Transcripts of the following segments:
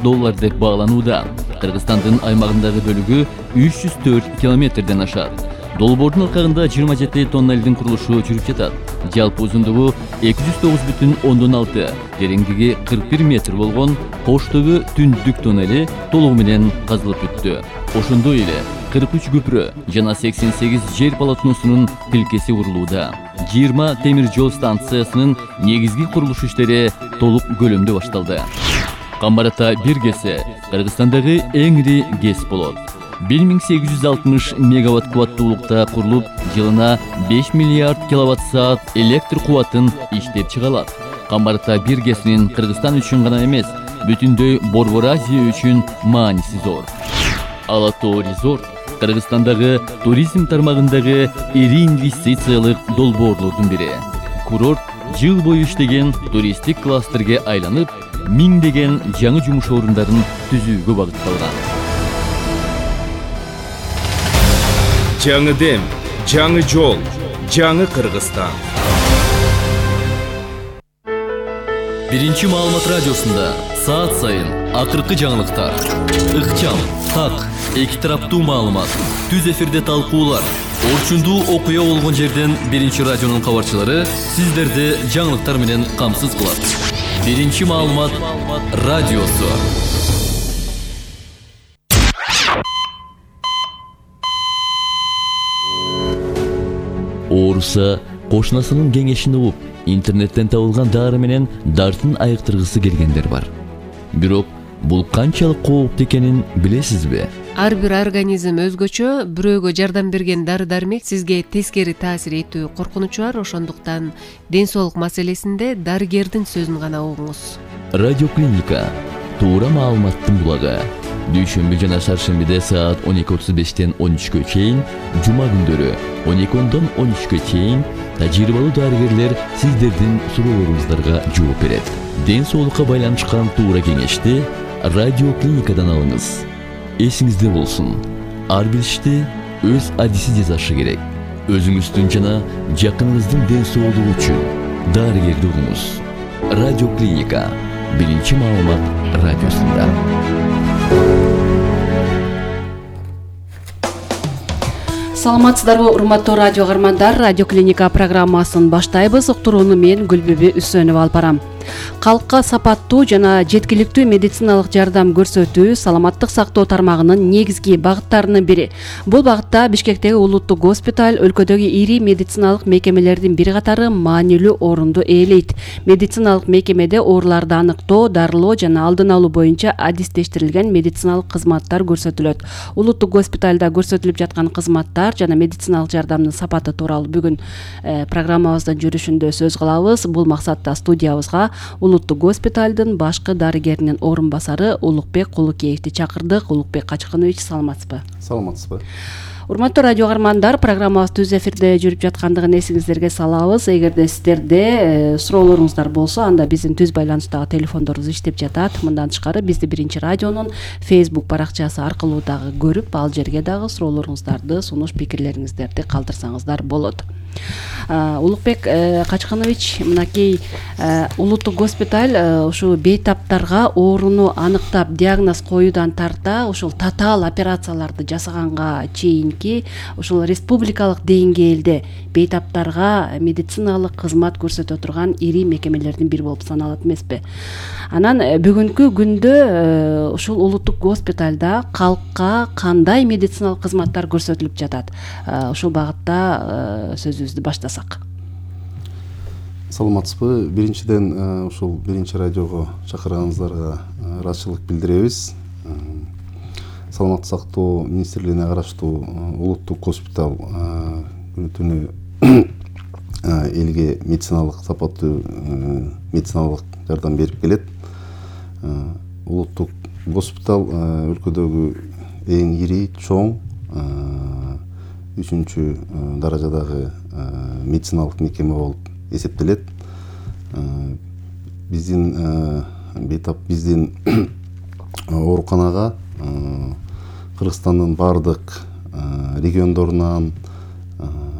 $100 деп бааланууда. Кыргызстандын аймагындагы бөлүгү 304 километрден ашат. Долбоордун алкагында 27 тоннелдин курулушу жүрүп жатат. Жалпы узундугу 209,6, тереңдиги 41 метр болгон Коштөгү түндүк тоннели толугу менен казылып бүттү. Ошондой эле 43 көпүрө жана 88 жер полотносунун тилкеси курулууда. 20 темир жол станциясынын негизги курулуш иштери толук көлөмдө башталды. Камбар Ата 1 КЭСи Кыргызстандагы эң ири КЭС болот. 1860 мегаватт кубаттуулукта курулуп, жылына 5 миллиард киловатт-саат электр кубатын иштеп чыгарат. Камбар Ата 1 КЭСинин Кыргызстан үчүн гана эмес, бүтүндөй Борбор Азия үчүн мааниси зор. Ала Тоо резорт Кыргызстандагы туризм тармагындагы ири инвестициялык долбоорлордун бири. Курорт жыл бою иштеген туристтик кластерге айланып, миңдеген жаңы жумуш орундарын түзүүгө багытталган. Жаңы дем, жаңы жол, жаңы Кыргызстан. Биринчи маалымат радиосунда саат сайын акыркы жаңылыктар, ыкчам, так, эки тараптуу маалымат, түз эфирде талкуулар, орчундуу окуя болгон жерден Биринчи радионун кабарчылары сиздерди жаңылыктар менен камсыз кылат. Биринчи маалымат радиосу. Ооруса кошунасынын кеңешин угуп, интернеттен табылган дары менен дартын айыктыргысы келгендер бар. Бирок бул канчалык кооптуу экенин билесизби? Ар бир организм өзгөчө, бирөөгө жардам берген дары-дармек сизге тескери таасир этүү коркунучу бар, ошондуктан ден соолук маселесинде дарыгердин сөзүн гана угуңуз. Радиоклиника туура маалыматтын булагы. Дүйшөмбү жана шаршембиде саат 12:35-тен 13-кө чейин, жума күндөрү 12-дон 13-кө чейин тажрыйбалуу дарыгерлер сиздердин суроолоруңуздарга жооп берет. Ден соолукка байланышкан туура кеңешти радиоклиникадан алыңыз. Эсиңизде болсун, ар бир ишти өз адиси жасашы керек. Өзүңүздүн жана жакыныңыздын ден соолугу үчүн дарыгерди угуңуз. Радиоклиника биринчи маалымат радиосунда. Саламатсыздарбы, урматтуу радио каармандар, Радиоклиника программасын баштайбыз. Уктурууну мен Гүлбүбү Үсөнова алып барам. Калкка сапаттуу жана жеткиликтүү медициналык жардам көрсөтүү саламаттык сактоо тармагынын негизги багыттарынын бири. Бул багытта Бишкектеги улуттук госпиталь өлкөдөгү ири медициналык мекемелердин бир катары маанилүү орунду ээлейт. Медициналык мекемеде ооруларды аныктоо, дарылоо жана алдын алуу боюнча адистештирилген медициналык кызматтар көрсөтүлөт. Улуттук госпитальда көрсөтүлүп жаткан кызматтар жана медициналык жардамдын сапаты тууралуу бүгүн программабыздын жүрүшүндө сөз кылабыз. Бул максатта студиябызга Улуттук госпиталдын башкы дарыгеринин орун басары Улукбек Кулукеевди чакырдык. Улукбек Качканович, саламатсызбы? Саламатсызбы. Урматтуу радио каармандар, программабыз түз эфирде жүрүп жаткандыгын эсиңиздерге салабыз. Эгерде сиздерде суроолоруңуздар болсо, анда биздин түз байланыштагы телефондорубуз иштеп жатат. Мындан тышкары бизди Биринчи радионун Facebook баракчасы аркылуу дагы көрүп, ал жерге дагы суроолоруңуздарды, сунуш пикирлериңиздерди калтырсаңыздар болот. Улукбек Качканович, мынакей улуттук госпиталь ушу бейтаптарга ооруну аныктап диагноз коюудан тарта ушул татаал операцияларды жасаганга чейинки ушул республикалык деңгээлде бейтаптарга медициналык кызмат көрсөтө турган ири мекемелердин бири болуп саналат эмеспи? Анан бүгүнкү күндө ушул улуттук госпитальда калкка кандай медициналык кызматтар көрсөтүлүп жатат? Ушул багытта сөзүбүздү баштасак. Саламатсызбы. Биринчиден ушул Биринчи радиого чакырганыңыздарга ыраазычылык билдиребиз. Саламаттык сактоо министрлигине караштуу улуттук госпиталь күнү-түнү элге медициналык сапаттуу медициналык жардам берип келет. Улуттук госпиталь өлкөдөгү эң ири, чоң 3-чү даражадагы медициналык мекеме болуп эсептелет. Биздин ооруканага Кыргызстандын бардык региондорунан,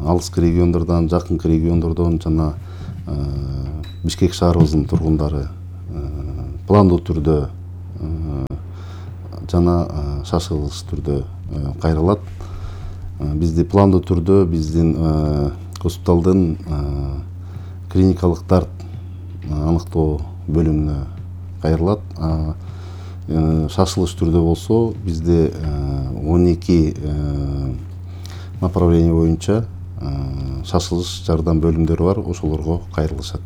алыскы региондордон, жакынкы региондордон жана Бишкек шаарыбыздын тургундары пландуу түрдө жана шашылыш түрдө кайрылат. Бизди пландуу түрдө биздин госпиталдын клиникалык дарт аныктоо бөлүмүнө кайрылат. Шашылыш түрдө болсо бизде 12 направление боюнча шашылыш жардам бөлүмдөрү бар, ошолорго кайрылышат.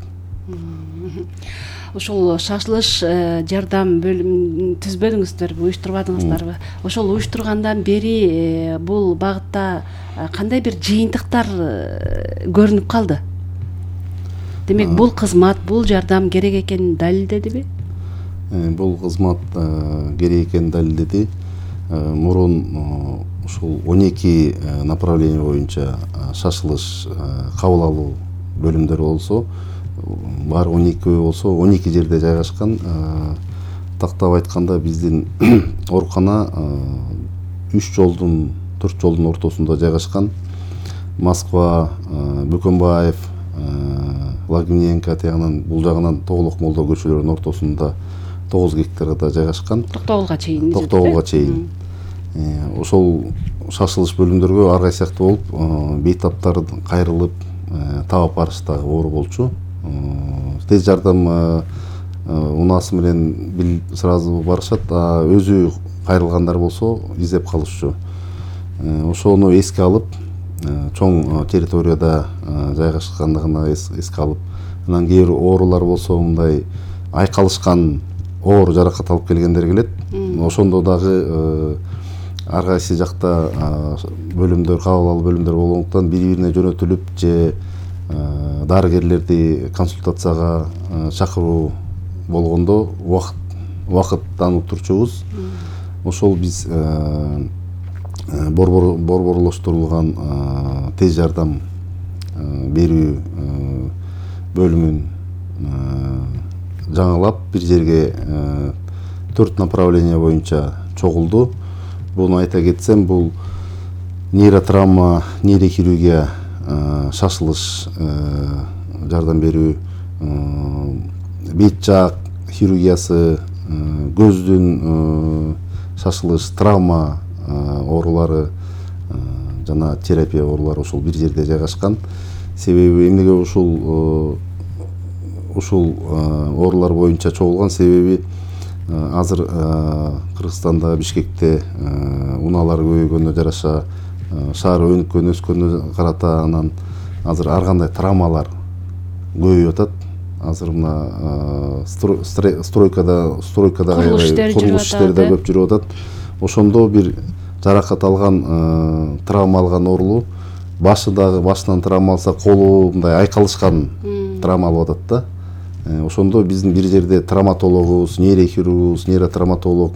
Ошол шашылыш жардам бөлүмүн түзбөдүңүздөрбү, уюштурбадыңыздарбы? Ошол уюштургандан бери бул багытта кандай бир жыйынтыктар көрүнүп калды? Демек, бул кызмат, бул жардам керек экенин далилдедиби? Бул кызмат керек экенин далилдеди. Мурун ушул 12 направление боюнча шашылыш кабыл алуу бөлүмдөрү болсо, бар 12 болсо 12 жерде жайгашкан. Тактап айтканда биздин оорукана 4 жолдун ортосунда жайгашкан. Москва, Бөкөнбаев, Лагвиненко тегинен бул жагынан Тоголок Молдо көчөлөрүнүн ортосунда 9 гектарда жайгашкан. Токтогулга чейин. Токтогулга чейин. Ошол шашылыш бөлүмдөргө ар кайсы сыяктуу болуп, бейтаптар кайрылып таап барыштагы оору болчу. Тез жардам унаасы менен сразу барышат, өзү кайрылгандар болсо издеп калышчу. Ошону эске алып, чоң территорияда жайгашкандыгына эске алып, анан кээ бир оорулар болсо мындай айкалышкан оор жаракат алып келгендер келет. Ошондо дагы ар кайсы жакта бөлүмдөр, кабыл алуу бөлүмдөр болгондуктан бири-бирине жөнөтүлүп же дарыгерлерди консультацияга чакыруу болгондо убакыттан утурчубуз. Ошол биз борборлоштурулган тез жардам берүү бөлүмүн жаңылап бир жерге 4 направление боюнча чогулду. Буну айта кетсем, бул нейротравма, нейрохирургия, шашылыш жардам берүү, бет жаак хирургиясы, көздүн шашылыш, травма оорулары жана терапия оорулары ошол бир жерде жайгашкан. Себеби эмнеге ушул оорулар боюнча чогулган? Себеби азыр Кыргызстанда, Бишкекте унаалар көбөйгөнүнө жараша, шаар өнүккөн өскөнүнө карата анан азыр ар кандай травмалар көбөйүп атат. Азыр мына стройкада курулуш иштери да көп жүрүп атат. Ошондо бир жаракат алган, травма алган оорулуу башынан травма алса, колу мындай айкалышкан травма алып атат да. Ошондо биздин бир жерде травматологубуз, нейрохирургубуз, нейротравматолог,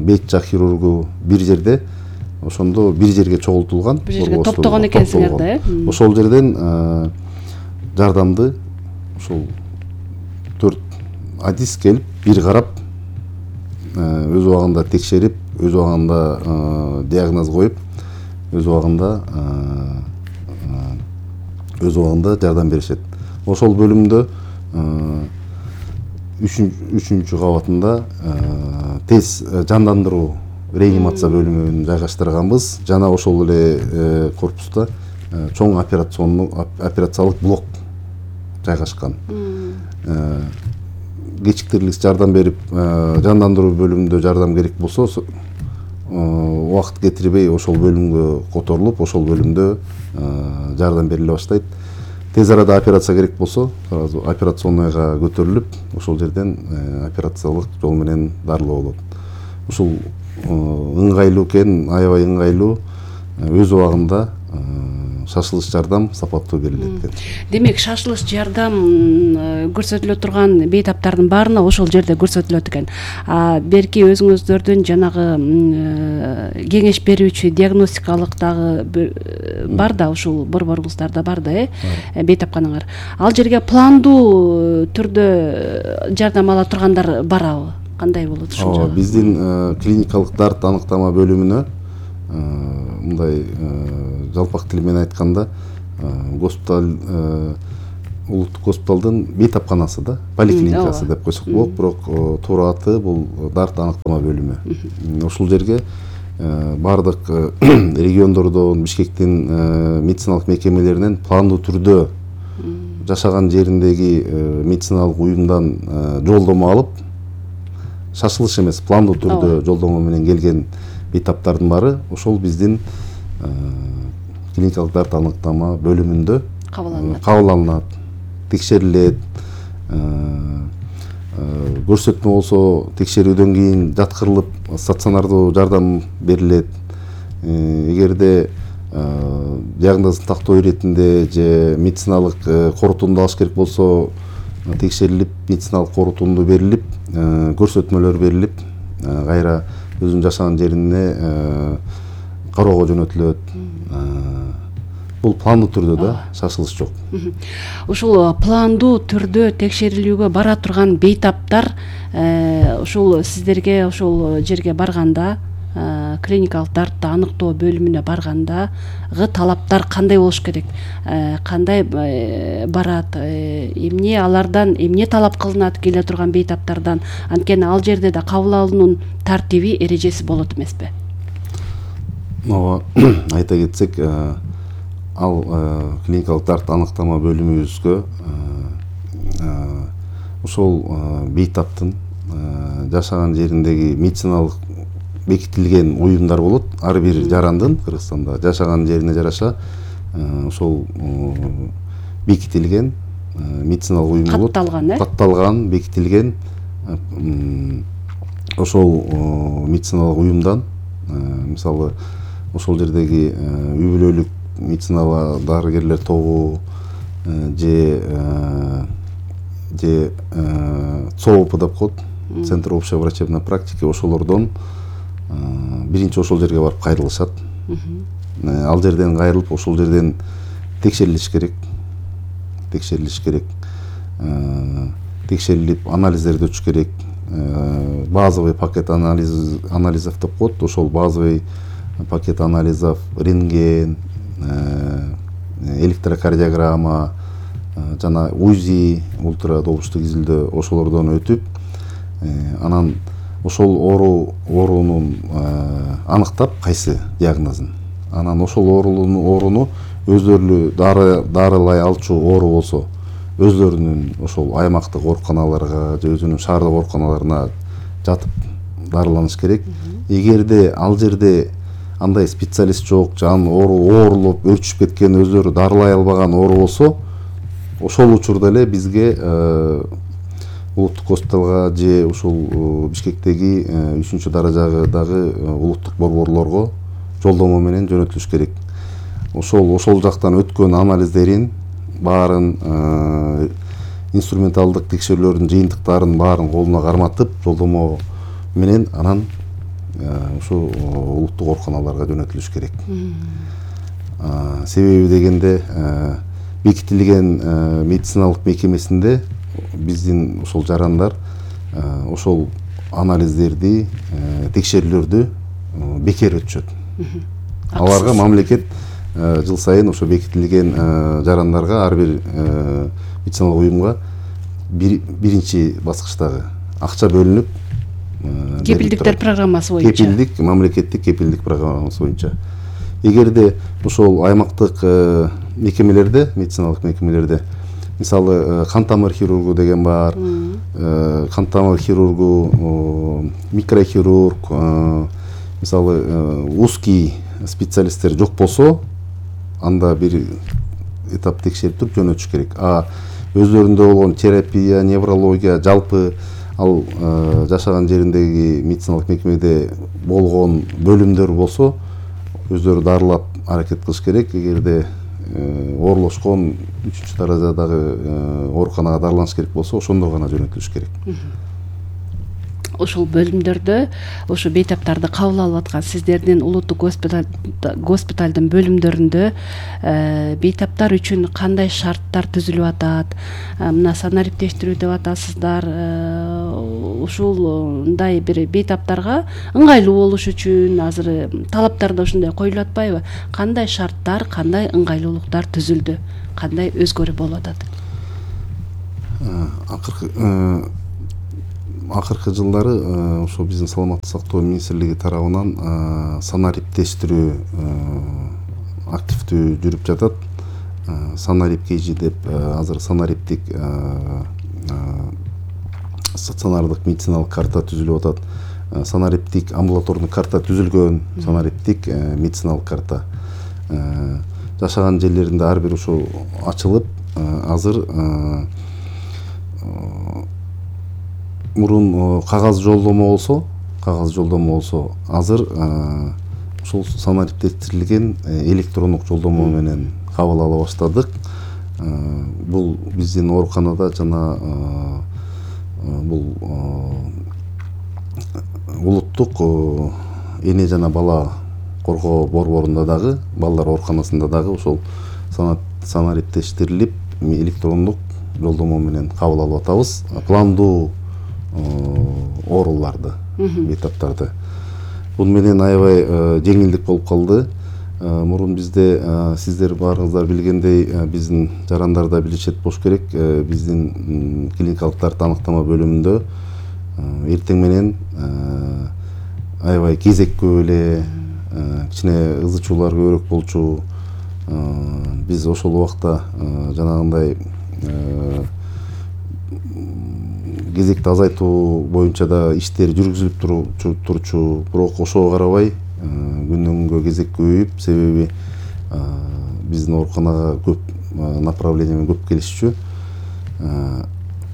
бет жаак хирургу бир жерде, ошондо бир жерге чогултулган. Бир жерге топтогон экенсиңер да, э? Ошол жерден жардамды ошол 4 адис келип, бир карап, өз убагында текшерип, өз убагында диагноз коюп, өз убагында жардам беришет. Ошол бөлүмдө 3-чү кабатында тез жандандыруу реанимация бөлүмүн жайгаштырганбыз. Жана ошол эле корпуста чоң операциялык блок жайгашкан. Кечиктирилип жардам берип, жандандыруу бөлүмүндө жардам керек болсо, убакыт кетирбей ошол бөлүмгө которулуп, ошол бөлүмдө жардам бериле баштайт. Тез арада операция керек болсо, сразу операционныйга көтөрүлүп, ошол жерден операциялык жол менен дарылоо болот. Ушул ыңгайлуу экен, аябай ыңгайлуу, өз убагында шашылыш жардам сапаттуу берилет экен. Демек, шашылыш жардам көрсөтүлө турган бейтаптардын баарына ошол жерде көрсөтүлөт экен. Берки өзүңүздөрдүн жанагы кеңеш берүүчү диагностикалык дагы бар да, ушул борборуңуздарда бар да, бейтапканыңар. Ал жерге пландуу түрдө жардам ала тургандар барабы? Кандай болот ушул жагы? Биздин клиникалык дарт аныктама бөлүмүнө мындай жалпак тил менен айтканда, госпиталь улуттук госпиталдын бейтапканасы да, поликлиникасы деп койсок болот, бирок туура аты бул дарт аныктама бөлүмү. Ушул жерге бардык региондордон, Бишкектин медициналык мекемелеринен пландуу түрдө жашаган жериндеги медициналык уюмдан жолдомо алып, шашылыш эмес, пландуу түрдө жолдомо менен келген бейтаптардын баары ошол биздин клиникалык дарт аныктама бөлүмүндө кабыл алынат, текшерилет, көрсөтмө болсо текшерүүдөн кийин жаткырылып стационардуу жардам берилет. Эгерде диагнозун тактоо иретинде же медициналык корутунду алыш керек болсо текшерилип, медициналык корутунду берилип, көрсөтмөлөр берилип, кайра өзүнүн жашаган жерине кароого жөнөтүлөт. Бул пландуу түрдө да, шашылыш жок. Ушул пландуу түрдө текшерилүүгө бара турган бейтаптар ушул сиздерге ошол жерге барганда, клиникалык дартты аныктоо бөлүмүнө баргандагы талаптар кандай болуш керек? Кандай барат? Эмне алардан эмне талап кылынат келе турган бейтаптардан? Анткени ал жерде да кабыл алуунун тартиби, эрежеси болот эмеспи? Ооба, айта кетсек, ал клиникалык дарт аныктама бөлүмүбүзгө ошол бейтаптын жашаган жериндеги медициналык бекитилген уюмдар болот. Ар бир жарандын Кыргызстанда жашаган жерине жараша ошол бекитилген медициналык уюм болот. Катталган, бекитилген ошол медициналык уюмдан, мисалы ошол жердеги үй бүлөлүк медициналык дарыгерлер тобу же ЦООП деп коет, Центр общей врачебной практики, ошолордон биринчи ошол жерге барып кайрылышат. Ал жерден кайрылып, ошол жерден текшерилиш керек. Текшерилип, анализдерди өтүш керек. Базовый пакет анализов деп коет. Ошол базовый пакет анализов, рентген, электрокардиограмма, жана УЗИ, ультрадобуштук изилдөө, ошолордон өтүп, анан ошол оорунун аныктап, кайсы диагнозун. Анан ошол ооруну өздөрү дарылай алчу оору болсо, өздөрүнүн ошол аймактык ооруканаларга же өзүнүн шаардык ооруканаларына жатып дарыланыш керек. Эгерде ал жерде андай специалист жок, жан оорулуп өрчүп кеткен, өздөрү дарылай албаган оору болсо, ошол учурда эле бизге улуттук госпиталга же ушул Бишкектеги 3-чү даражадагы улуттук борборлорго жолдомо менен жөнөтүлүш керек. Ошол жактан өткөн анализдерин баарын, инструменталдык текшерүүлөрдүн жыйынтыктарын баарын колуна карматып, жолдомо менен анан ушу улуттук ооруканаларга жөнөтүлүш керек. Себеби дегенде бекитилген медициналык мекемесинде биздин ошол жарандар ошол анализдерди, текшерүүлөрдү бекер өтүшөт. Аларга мамлекет жыл сайын ошо бекитилген жарандарга, ар бир медициналык уюмга биринчи баскычтагы акча бөлүнүп, кепилдиктер программасы боюнча, мамлекеттик кепилдик программасы боюнча. Эгерде ошол аймактык мекемелерде, медициналык мекемелерде, мисалы кан тамыр хирургу деген бар, кан тамыр хирургу, микрохирург, мисалы узкий специалисттер жок болсо, анда бир этап текшерип туруп жөнөтүш керек. Өздөрүндө болгон терапия, неврология, жалпы ал жашаган жериндеги медициналык мекемеде болгон бөлүмдөр болсо, өздөрү дарылап аракет кылыш керек. Эгерде оорлошкон 3-чү даражадагы ооруканага дарыланыш керек болсо, ошондо гана жөнөтүлүш керек. Ошол бөлүмдөрдө ошо бейтаптарды кабыл алып аткан сиздердин улуттук госпиталдын бөлүмдөрүндө бейтаптар үчүн кандай шарттар түзүлүп атат? Мына санариптештирүү деп атасыздар. Ушундай бир бейтаптарга ыңгайлуу болуш үчүн азыр талаптарда ушундай коюлуп атпайбы? Кандай шарттар, кандай ыңгайлуулуктар түзүлдү? Кандай өзгөрүү болуп атат? акыркы жылдары ошо биздин саламаттык сактоо министрлиги тарабынан санариптештирүү активдүү жүрүп жатат. Санарип KG деп азыр санариптик стационардык медициналык карта түзүлүп атат. Санариптик амбулаторный карта түзүлгөн, санариптик медициналык карта. Жашаган жерлеринде ар бир ошо ачылып, азыр мурун кагаз жолдомо болсо, азыр ошол санариптештирилген электрондук жолдомо менен кабыл ала баштадык. Бул биздин ооруканада жана бул улуттук эне жана бала коргоо борборунда дагы, балдар ооруканасында дагы ошол санариптештирилип электрондук жолдомо менен кабыл алып атабыз. Пландуу ооруларды, бейтаптарды. Бул менен аябай жеңилдик болуп калды. Мурун бизде сиздер баарыңыздар билгендей, биздин жарандар да билишет болуш керек, биздин клиникалык тарт аныктама бөлүмүндө эртең менен аябай кезек көп эле, кичине ызы чуулар көбүрөөк болчу. Биз ошол убакта жанагындай кезекти азайтуу боюнча да иштер жүргүзүлүп турчу, бирок ошого карабай күндөн күнгө кезек көбөйүп, себеби биздин ооруканага көп направление менен көп келишчү.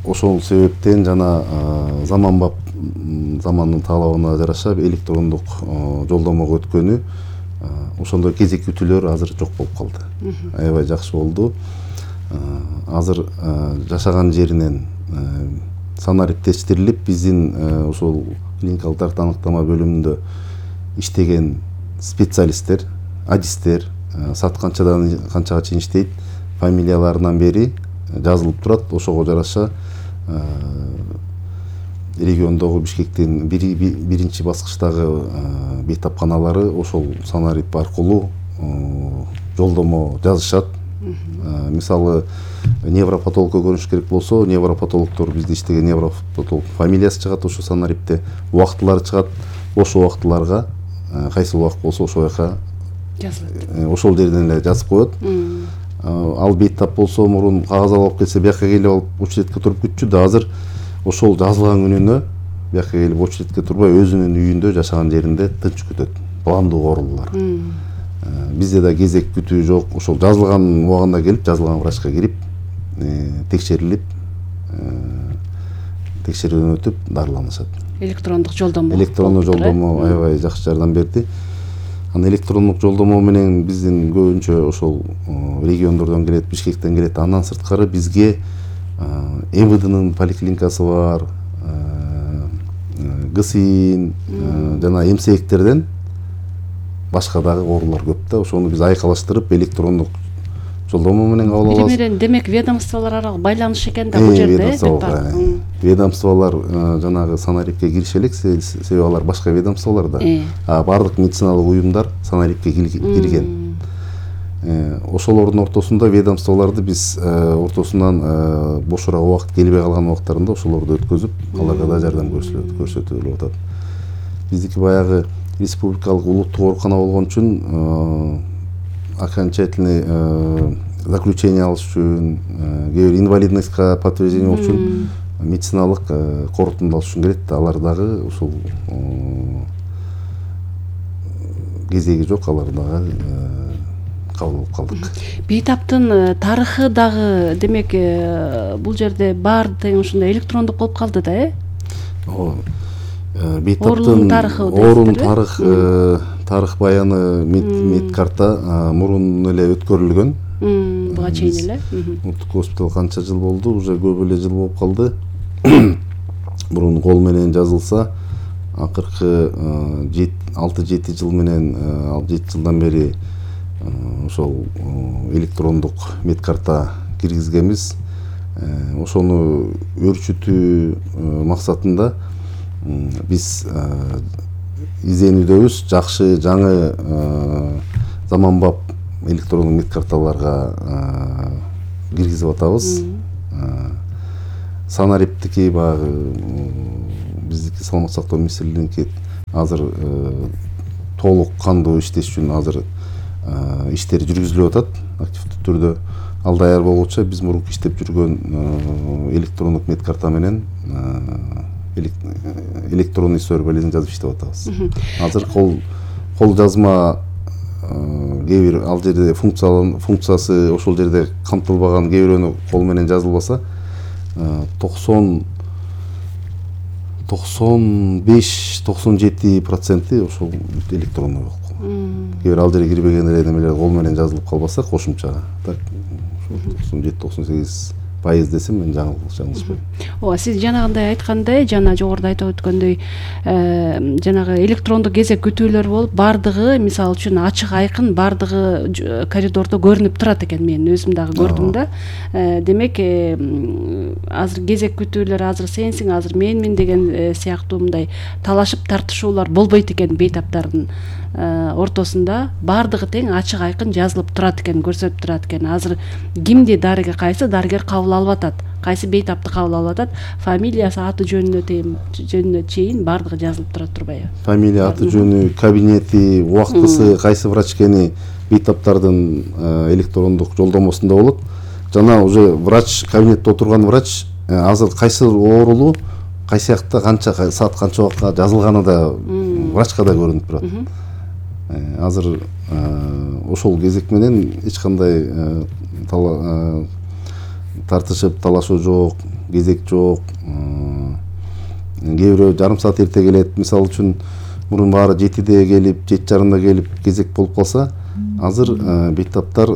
Ошол себептен жана замандын талабына жараша электрондук жолдомого өткөнү, ошондой кезек күтүүлөр азыр жок болуп калды. Аябай жакшы болду. Азыр жашаган жеринен санариптештирилип, биздин ошол клиникалык тарт аныктама бөлүмүндө иштеген специалисттер, адистер саат канчадан канчага чейин иштейт, фамилияларынан бери жазылып турат. Ошого жараша региондогу Бишкектин биринчи баскычтагы бейтапканалары ошол санарип аркылуу жолдомо жазышат. Мисалы, невропатологко көрүнүш керек болсо, невропатологдор бизде иштеген невропатолог фамилиясы чыгат ошо санарипте, убактылары чыгат. Ошол убактыларга кайсы убакыт болсо ошол жака жазылат. Ошол жерден эле жазып коет. Ал бейтап болсо, мурун кагаз алып келсе, бияка келип алып очередке туруп күтчү да. Азыр ошол жазылган күнүнө бияка келип очередке турбай, өзүнүн үйүндө жашаган жеринде тынч күтөт. Пландуу оорулар. Бизде да кезек күтүү жок. Ошол жазылган убагында келип, жазылган врачка кирип, текшерилип, текшерүүдөн өтүп дарыланышат. Электрондук жолдомо. Электрондук жолдомо аябай жакшы жардам берди. Анан электрондук жолдомо менен биздин көбүнчө ошол региондордон келет, Бишкектен келет. Андан сырткары бизге МВДнын поликлиникасы бар, ГСИН жана эмсектерден башка дагы оорулар көп да. Ошону биз айкалаштырып электрондук жолдомо менен кабыл алабыз. Бири менен демек ведомстволор аралык байланыш экен да бул жерде. Ведомстволор жанагы санарипке кириши элек, себеби алар башка ведомстволорда. Бардык медициналык уюмдар санарипке кирген. Ошолордун ортосунда ведомстволорду биз ортосунан бошураак убакыт келбей калган убактарында ошолорду өткөзүп, аларга да жардам көрсөтүлүп атат. Биздики баягы республикалык улуттук оорукана болгон үчүн окончательный заключение алыш үчүн, кээ бир инвалидностька подтверждение болуш үчүн медициналык корутунду алыш үчүн келет. Алар дагы ушул кезеги жок, алар дагы кабыл алып калдык. Бейтаптын тарыхы дагы демек бул жерде баары тең ушундай электрондук болуп калды да, Бейтаптын оорунун тарых баяны медкарта мурун эле өткөрүлгөн. Буга чейин эле. Улуттук госпиталь канча жыл болду? Уже көп эле жыл болуп калды. Мурун кол менен жазылса, акыркы 6-7 жыл менен, 7 жылдан бери ошол электрондук медкарта киргизгенбиз. Ошону өрчүтүү максатында биз изденүүдөбүз. Жакшы жаңы заманбап электрондук медкарталарга киргизип атабыз. Санариптики баягы биздики саламаттык сактоо министрлигиники азыр толук кандуу иштеш үчүн азыр иштер жүргүзүлүп атат активдүү түрдө. Ал даяр болгучу биз мурунку иштеп жүргөн электрондук медкарта менен электронный сөрбөлүн жазып иштеп атабыз. Азыр кол жазма кээ бир ал жерде функциясы ошол жерде камтылбаган, кээ бирөөнү кол менен жазылбаса 95-97% ошол электрондой болуп калган. Кээ бир ал жерге кирбеген немелер кол менен жазылып калбаса кошумча так 97-98% десем мен жаңылышпайм. Ооба, сиз жанагындай айткандай, жана жогоруда айтып өткөндөй, жанагы электрондук кезек күтүүлөр болуп, бардыгы, мисалы үчүн ачык айкын бардыгы коридордо көрүнүп турат экен. Мен өзүм дагы көрдүм да. Демек, азыр кезек күтүүлөр, азыр сенсиң, азыр менмин деген сыяктуу мындай талашып тартышуулар болбойт экен бейтаптардын ортосунда. Бардыгы тең ачык айкын жазылып турат экен, көрсөтүп турат экен. Азыр кимди дарыгер, кайсы дарыгер кабыл алып атат, кайсы бейтапты кабыл алып атат, фамилиясы, аты жөнүнө чейин бардыгы жазылып турат турбайбы? Фамилия, аты жөнү, кабинети, убактысы, кайсы врач экени бейтаптардын электрондук жолдомосунда болот. Жана уже врач, кабинетте отурган врач азыр кайсы оорулуу, кайсы жакта канча саат, канча убакка жазылганы да врачка да көрүнүп турат. Азыр ошол кезек менен эч кандай тартышып талашуу жок, кезек жок. Кээ бирөө жарым саат эрте келет. Мисалы үчүн мурун баары 7-де келип, 7:30 келип кезек болуп калса, азыр бейтаптар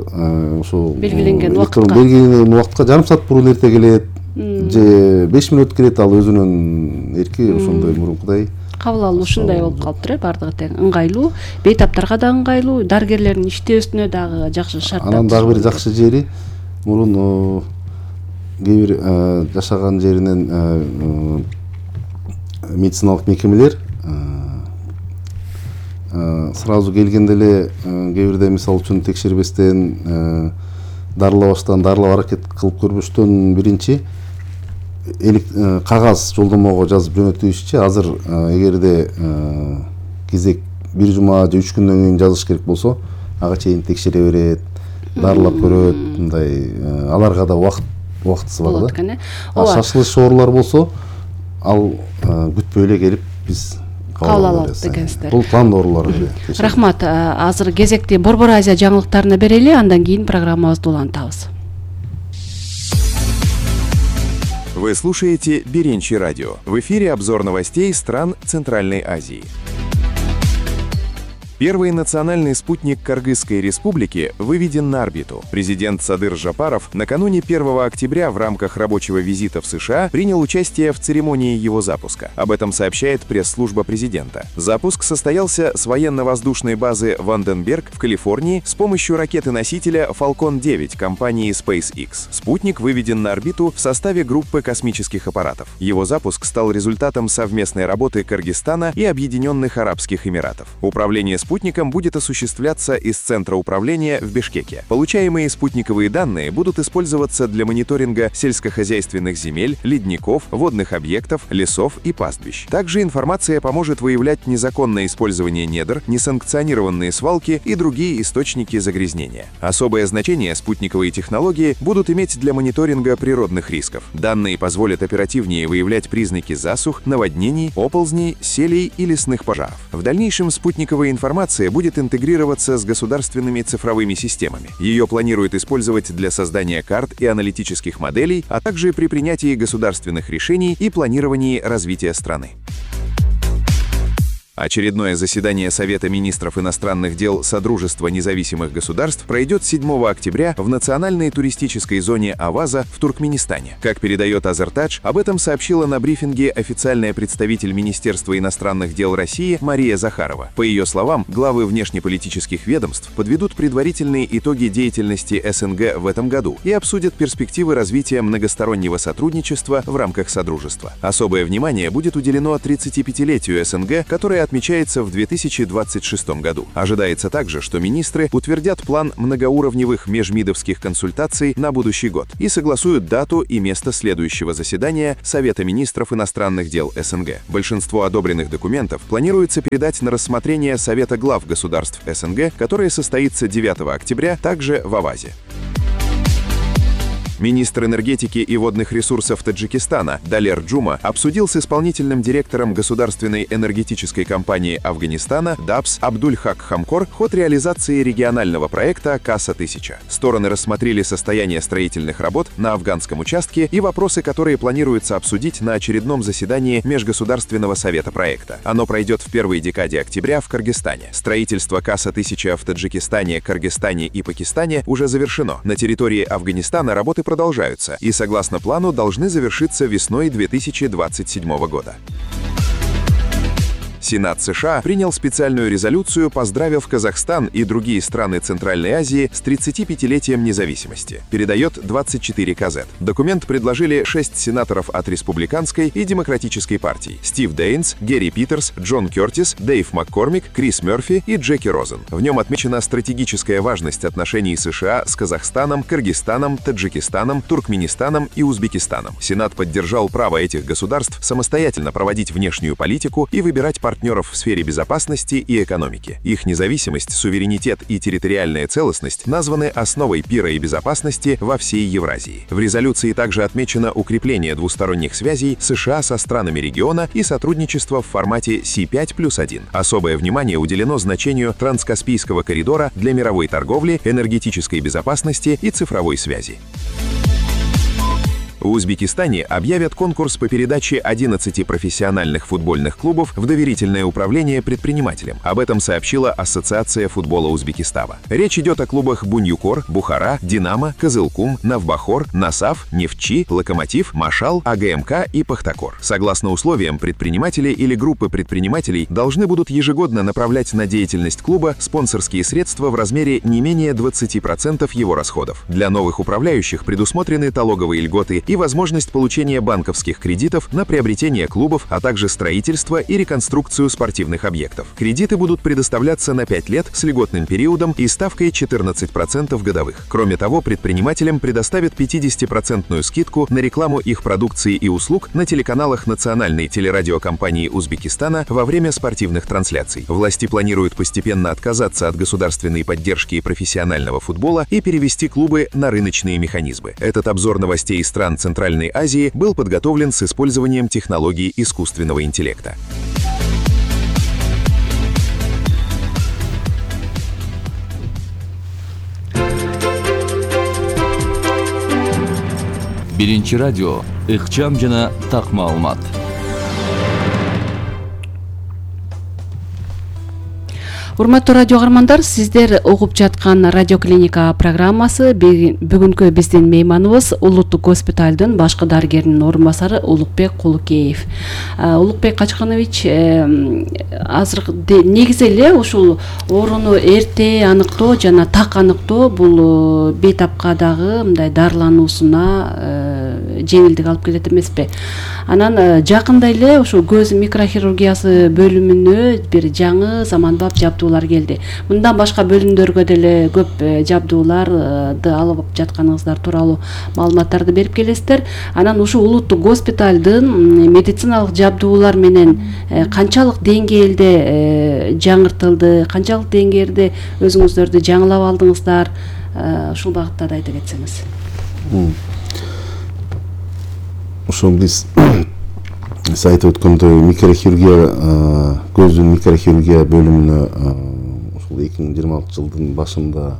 ошо белгиленген убакытка жарым саат мурун эрте келет, же 5 мүнөт келет, ал өзүнүн эрки ошондой мурункудай. Кабыл алуу ушундай болуп калыптыр, бардыгы тең ыңгайлуу, бейтаптарга да ыңгайлуу, дарыгерлердин иштөөсүнө дагы жакшы шарттар. Анан дагы бир жакшы жери, мурун кээ бир жашаган жеринен медициналык мекемелер сразу келгенде эле кээ бирде мисалы үчүн текшербестен, дарылабаштан, дарылап аракет кылып көрбөштөн биринчи кагаз жолдомого жазып жөнөтүшчү. Азыр эгерде кезек 1 жума же 3 күндөн кийин жазыш керек болсо, ага чейин текшере берет, дарылап көрөт, мындай аларга да убактысы бар да. Шашылыш оорулар болсо, ал күтпөй эле келип биз кабыл алабыз экенсиздер. Бул план оорулар. Рахмат. Азыр кезекти Борбор Азия жаңылыктарына берели, андан кийин программабызды улантабыз. Вы слушаете Беренчи радио. В эфире обзор новостей стран Центральной Азии. Первый национальный спутник Кыргызской республики выведен на орбиту. Президент Садыр Жапаров накануне 1 октября в рамках рабочего визита в США принял участие в церемонии его запуска. Об этом сообщает пресс-служба президента. Запуск состоялся с военно-воздушной базы Ванденберг в Калифорнии с помощью ракеты-носителя Falcon 9 компании SpaceX. Спутник выведен на орбиту в составе группы космических аппаратов. Его запуск стал результатом совместной работы Кыргызстана и Объединенных Арабских Эмиратов. Управление спутником будет осуществляться из центра управления в Бишкеке. Получаемые спутниковые данные будут использоваться для мониторинга сельскохозяйственных земель, ледников, водных объектов, лесов и пастбищ. Также информация поможет выявлять незаконное использование недр, несанкционированные свалки и другие источники загрязнения. Особое значение спутниковые технологии будут иметь для мониторинга природных рисков. Данные позволят оперативнее выявлять признаки засух, наводнений, оползней, селей и лесных пожаров. В дальнейшем спутниковая информация будет интегрироваться с государственными цифровыми системами. Ее планируют использовать для создания карт и аналитических моделей, а также при принятии государственных решений и планировании развития страны. Очередное заседание Совета министров иностранных дел Содружества независимых государств пройдет 7 октября в национальной туристической зоне Аваза в Туркменистане. Как передает Азертадж, об этом сообщила на брифинге официальная представитель Министерства иностранных дел России Мария Захарова. По ее словам, главы внешнеполитических ведомств подведут предварительные итоги деятельности СНГ в этом году и обсудят перспективы развития многостороннего сотрудничества в рамках Содружества. Особое внимание будет уделено 35-летию СНГ, которое отмечается в 2026 году. Ожидается также, что министры утвердят план многоуровневых межмидовских консультаций на будущий год и согласуют дату и место следующего заседания Совета министров иностранных дел СНГ. Большинство одобренных документов планируется передать на рассмотрение Совета глав государств СНГ, которое состоится 9 октября также в Авазе. Министр энергетики и водных ресурсов Таджикистана Далер Джума обсудил с исполнительным директором государственной энергетической компании Афганистана ДАПС Абдуль-Хак Хамкор ход реализации регионального проекта КАСА-1000. Стороны рассмотрели состояние строительных работ на афганском участке и вопросы, которые планируется обсудить на очередном заседании Межгосударственного совета проекта. Оно пройдет в первой декаде октября в Кыргызстане. Строительство КАСА-1000 в Таджикистане, Кыргызстане и Пакистане уже завершено. На территории Афганистана работы продолжаются и, согласно плану, должны завершиться весной 2027 года. Сенат США принял специальную резолюцию, поздравив Казахстан и другие страны Центральной Азии с 35-летием независимости. Передает 24 КЗ. Документ предложили 6 сенаторов от Республиканской и Демократической партий: Стив Дейнс, Герри Питерс, Джон Кертис, Дэйв Маккормик, Крис Мерфи и Джеки Розен. В нем отмечена стратегическая важность отношений США с Казахстаном, Кыргызстаном, Таджикистаном, Туркменистаном и Узбекистаном. Сенат поддержал право этих государств самостоятельно проводить внешнюю политику и выбирать партнеров в сфере безопасности и экономики. Их независимость, суверенитет и территориальная целостность названы основой мира и безопасности во всей Евразии. В резолюции также отмечено укрепление двусторонних связей США со странами региона и сотрудничество в формате C5+1. Особое внимание уделено значению Транскаспийского коридора для мировой торговли, энергетической безопасности и цифровой связи. В Узбекистане объявят конкурс по передаче 11 профессиональных футбольных клубов в доверительное управление предпринимателям. Об этом сообщила Ассоциация футбола Узбекистана. Речь идет о клубах Буньюкор, Бухара, Динамо, Кызылкум, Навбахор, Насаф, Нефтчи, Локомотив, Машал, АГМК и Пахтакор. Согласно условиям, предприниматели или группы предпринимателей должны будут ежегодно направлять на деятельность клуба спонсорские средства в размере не менее 20% его расходов. Для новых управляющих предусмотрены налоговые льготы и возможность получения банковских кредитов на приобретение клубов, а также строительство и реконструкцию спортивных объектов. Кредиты будут предоставляться на 5 лет с льготным периодом и ставкой 14% годовых. Кроме того, предпринимателям предоставят 50% скидку на рекламу их продукции и услуг на телеканалах национальной телерадиокомпании Узбекистана во время спортивных трансляций. Власти планируют постепенно отказаться от государственной поддержки профессионального футбола и перевести клубы на рыночные механизмы. Этот обзор новостей из стран Центральной Азии был подготовлен с использованием технологий искусственного интеллекта. Биринчи радио, ыкчам жана так маалымат. Урматтуу радио каармандар, сиздер угуп жаткан Радио Клиника программасы. Бүгүнкү биздин мейманыбыз Улуттук госпиталдын башкы дарыгеринин орун басары Улукбек Кулукеев. Улукбек Качканович, азыр негизи эле ушул ооруну эрте аныктоо жана так аныктоо бул бейтапка дагы мындай дарылануусуна жеңилдик алып келет эмеспи? Анан жакында эле ушул көз микрохирургиясы бөлүмүнө бир жаңы заманбап жабдуулар келди. Мындан башка бөлүмдөргө деле көп жабдууларды алып жатканыңыздар тууралуу маалыматтарды берип келесиздер. Анан ушул улуттук госпиталдын медициналык жабдуулар менен канчалык деңгээлде жаңыртылды, канчалык деңгээлде өзүңүздөрдү жаңылап алдыңыздар, ушул багытта да айта кетсеңиз. Ошол биз айтып өткөндөй микрохирургия, көздүн микрохирургия бөлүмүнө ушул 2026 жылдын башында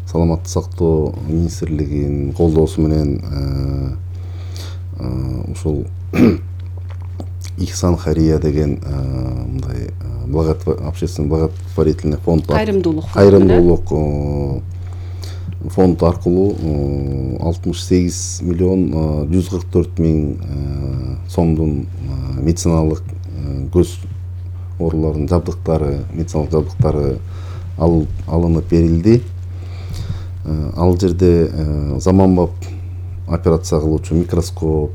саламаттык сактоо министрлигинин колдоосу менен ушул Ихсан Хария деген мындай общественный благотворительный фонд, кайрымдуулук фонд аркылуу 68 миллион 144 миң сомдун медициналык көз ооруларынын жабдыктары, медициналык жабдыктары алынып берилди. Ал жерде заманбап операция кылуучу микроскоп,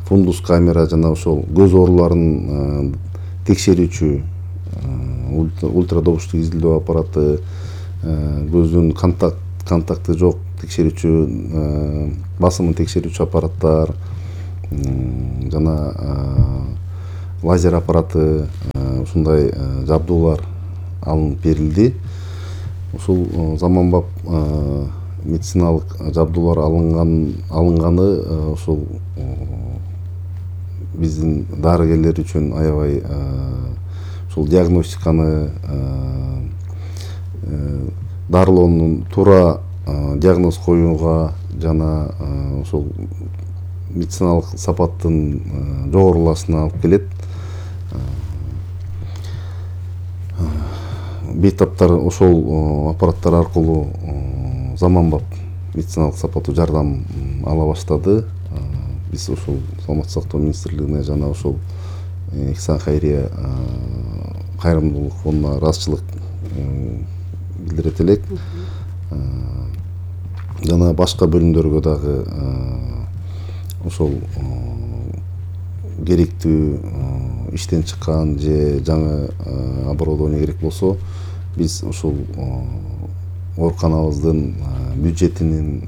фундус камера жана ошол көз ооруларын текшерүүчү ультрадобуштук изилдөө аппараты, көздүн контакты жок текшерүүчү, басымын текшерүүчү аппараттар жана лазер аппараты, ушундай жабдуулар алынып берилди. Ушул заманбап медициналык жабдуулар алынганы ушул биздин дарыгерлер үчүн аябай ушул диагностиканы, дарылоонун туура диагноз коюуга жана ушул медициналык сапаттын жогорулашына алып келет. Бейтаптар ошол аппараттар аркылуу заманбап медициналык сапаттуу жардам ала баштады. Биз ушул Саламаттык сактоо министрлигине жана ошол Ихсан Кайрия кайрымдуулук фондуна ыраазычылык билдирет элек. Жана башка бөлүмдөргө дагы ошол керектүү иштен чыккан же жаңы оборудование керек болсо, биз ушул ооруканабыздын бюджетинин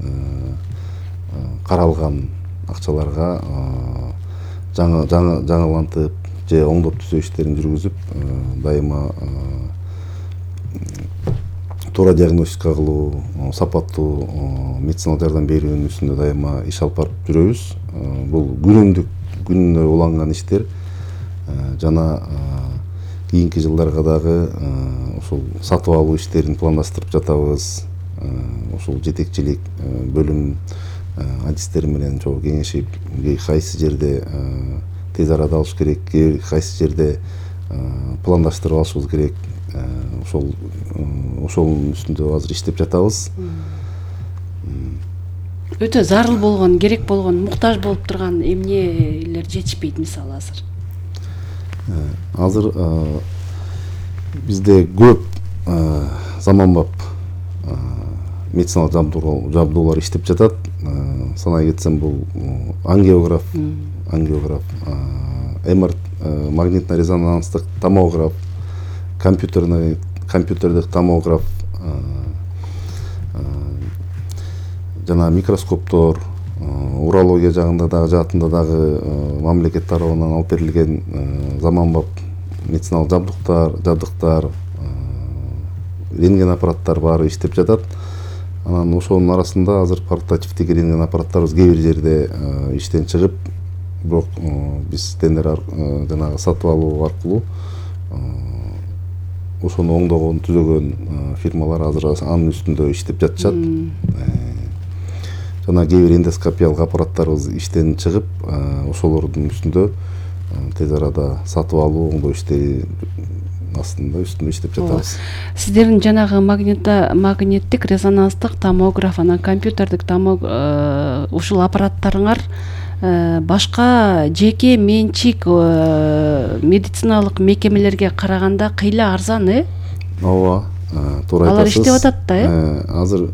каралган акчаларга жаңылантып же оңдоп түзөө иштерин жүргүзүп, дайыма туура диагностика кылуу, сапаттуу медициналык жардам берүүнүн үстүндө дайыма иш алып барып жүрөбүз. Бул күнүнө уланган иштер жана кийинки жылдарга дагы ушул сатып алуу иштерин пландаштырып жатабыз. Ушул жетекчилик бөлүм адистери менен чогуу кеңешип, кайсы жерде тез арада алыш керек, кайсы жерде пландаштырып алышыбыз керек, ошонун үстүндө азыр иштеп жатабыз. Өтө зарыл болгон, керек болгон, муктаж болуп турган эмнелер жетишпейт мисалы азыр? Азыр бизде көп заманбап медициналык жабдуулар иштеп жатат. Санай кетсем, бул ангиограф, МРТ, магнитно-резонанстык томограф, компьютердик томограф, жана микроскоптор, урология жаатында дагы мамлекет тарабынан алып берилген заманбап медициналык жабдыктар, рентген аппараттар баары иштеп жатат. Анан ошонун арасында азыр портативдик рентген аппараттарыбыз кээ бир жерде иштен чыгып, бирок биз тендер жанагы сатып алуу аркылуу ошону оңдогон, түзөгөн фирмалар азыр анын үстүндө иштеп жатышат. Жана кээ бир эндоскопиялык аппараттарыбыз иштен чыгып, ошолордун үстүндө тез арада сатып алуу, оңдоо иштери үстүндө иштеп жатабыз. Сиздердин жанагы магниттик резонанстык томограф, анан компьютердик ушул аппараттарыңар башка жеке менчик медициналык мекемелерге караганда кыйла арзан, Ооба, туура айтасыз. Алар иштеп атат да, Азыр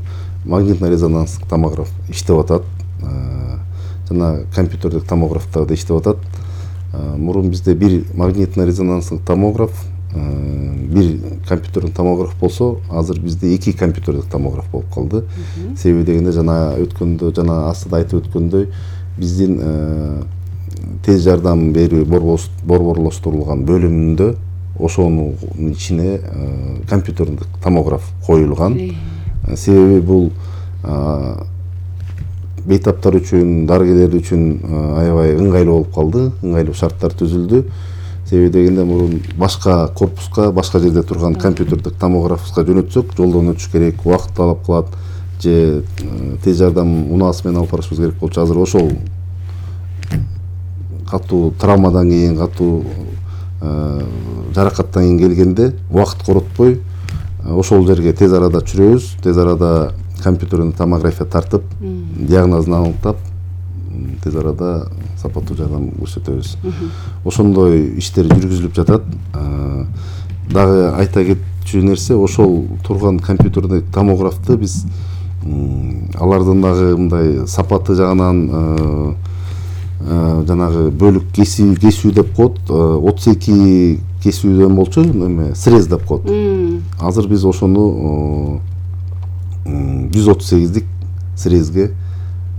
магнитно-резонанстык томограф иштеп атат. Жана компьютердик томографтар да иштеп атат. Мурун бизде бир магнитно-резонанстык томограф, бир компьютердик томограф болсо, азыр бизде 2 компьютердик томограф болуп калды. Себеби дегенде жана астыда айтып өткөндөй, биздин тез жардам берүү борборлоштурулган бөлүмүндө ошонун ичине компьютердик томограф коюлган. Себеби бул бейтаптар үчүн, дарыгерлер үчүн аябай ыңгайлуу болуп калды, ыңгайлуу шарттар түзүлдү. Себеби дегенде мурун башка корпуска, башка жерде турган компьютердик томографка жөнөтсөк, жолдон өтүш керек, убакыт талап кылат, же тез жардам унаасы менен алып барышыбыз керек болчу. Азыр ошол катуу травмадан кийин, катуу жаракаттан кийин келгенде убакыт коротпой ошол жерге тез арада чүрөбүз, тез арада компьютердик томография тартып, диагнозун аныктап, тез арада сапаттуу жардам көрсөтөбүз. Ошондой иштер жүргүзүлүп жатат. Дагы айта кетчү нерсе, ошол турган компьютердик томографты биз алардын дагы мындай сапаты жагынан жанагы бөлүк кесүү деп коет, 32 кесүүдөн болчу, эме срез деп коет. Азыр биз ошону 138-дик срезге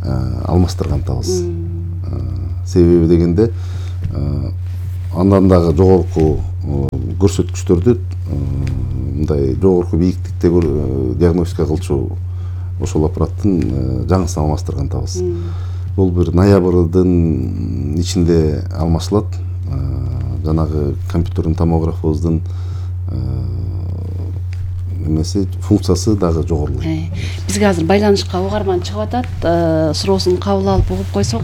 алмаштыргантабыз. Себеби дегенде андан дагы жогорку көрсөткүчтөрдү мындай жогорку бийиктикте диагностика кылчу ошол аппараттын жаңысын алмаштыргантабыз. Бул бир ноябрдын ичинде алмашылат. Жанагы компьютердин томографыбыздын эмеси функциясы дагы жогорулайт. Бизге азыр байланышка угарман чыгып атат. Суроосун кабыл алып угуп койсок.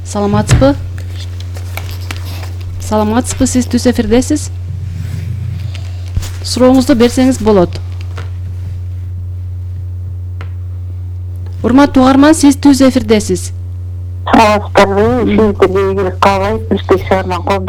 Саламатсызбы? Саламатсызбы, сиз түз эфирдесиз. Сурооңузду берсеңиз болот. Урматтуу угарман, сиз түз эфирдесиз. Саламатсыздарбы? Сиздерге ийгилик каалайт. Бишкек шаарынан